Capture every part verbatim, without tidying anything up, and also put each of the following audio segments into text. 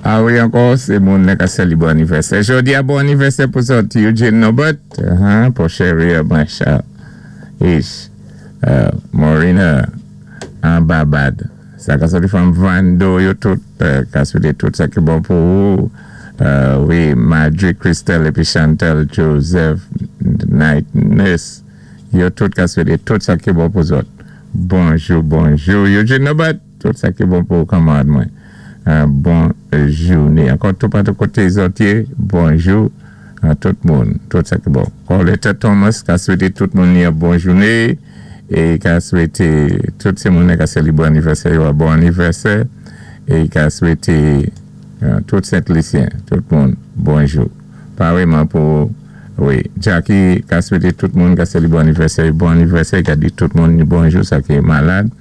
A wi, ankò, sé moun ka sélibwé anivèsè. Jòdi-a, bon anivèsè pou zòt, Eugene Norbert, uh-huh, pou Sherry Marshall, Ish, uh, Morina, an Babad. Sa ka soti fanm Vando, yo tout, euh, ka swété tout sa ki bon pou ou. Euh, wi, Marjorie Christelle épi Chantal Joseph, Night Nurse, yo tout ka swété tout sa ki bon pou zòt. Bonjou, bonjou. Eugene Norbert, tout sa ki bon pou kanmarad mwen. Euh, bon jouné. Ankò tout patou koté zòt yé, bonjou a tout moun, tout sa ki bon. Coletta Thomas ka swété tout moun yon bon jouné é ka swété tout sé moun ka sélibwé anivèsè yo bon anivèsè é ka swété euh, tout Sent-Lisyen, tout moun, bonjou. Pareillement pou wi, Jackie ka swété tout moun ka sélibwé anivèsè bon anivèsè, ka di tout moun bonjou, sa ki malad,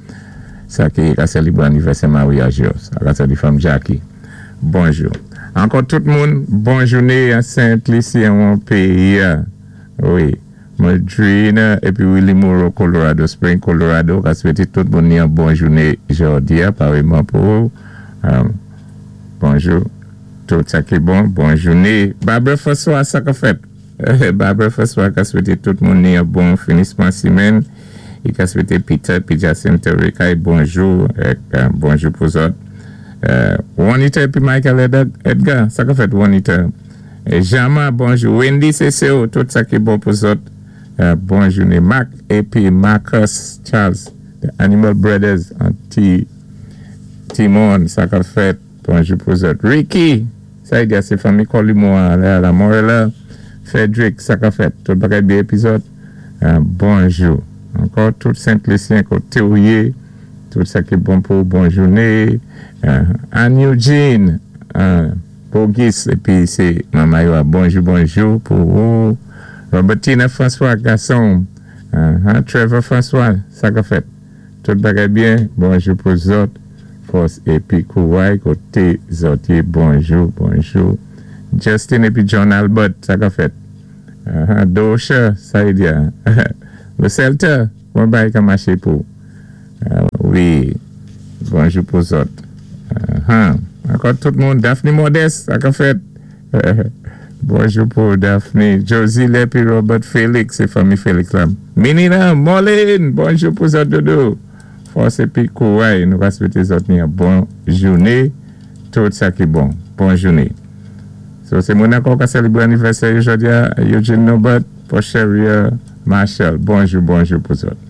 sa ki ka sélibwé anivèsè maryaj yo, sa ka di fanm Jackie. Bonjou. Ankò tout moun, bon jouné a Sent-Lisyen, an péyi. Wi. Madrina épi Willie Moreau, Colorado Spring, Colorado, ka swété tout moun yon bon jouné jòdi-a, pareillement pou ou. Um, bonjou. Tout sa ki bon, bon jouné. Barbara François, sa ka fèt. Barbara François ka swété tout moun yon bon finisman simèn. I ka swété Peter, pi Jacinta Ricay, bonjou, ek, euh, bonjou pou zòt. Euh, Juanita épi Michael Edgar, sa ka fèt Juanita. Et Jama, bonjou. Wendy C C O, tout sa ki bon pou zòt. Euh, bon jouné. Mark épi Marcus Charles, The Animal Brothers, Anti Timon, sa ka fèt. Bonjou pou zòt. Ricky, sa y di sé fanmi Colimo, la, la Morella. Frederick, sa ka fèt. Tout bagay byen épi zòt. Euh, bonjou. Ankò, tout Sent-Lisyen koté ou yé, tout sa ki bon pou bon jouné. Euh, Anne Eugene, euh, Bogis, épi sé manman yo, bonjou, bonjou pou ou. Robertina François, gason. Uh, Trevor François, sa ka fèt. Tout bagay byen, bonjou pou zòt. Fòs épi kouway, koté zòt yé, bonjou, bonjou. Justin épi John Albert, sa ka fèt. Uh, Dosha, sa y di. Le Celta, bon bagay ka maché pou. Uh, wi, bonjou pou zòt. Uh, Ankò tout moun, Daphne Modeste, sa ka fèt. Bonjou pou Daphne. Josie épi Robert Félix, sé fanmi Félix la. Minina, Molin, bonjou pou zòt doudou. Fòs épi kouway, nou va swété zòt ni yon bon jouné. Tout sa ki bon. Bon jouné. So, sé moun ankò ka sélibwé anivèsè jòdi-a, Eugene Norbert, pou Sherry Marshall. Bonjou, bonjou pou zòt.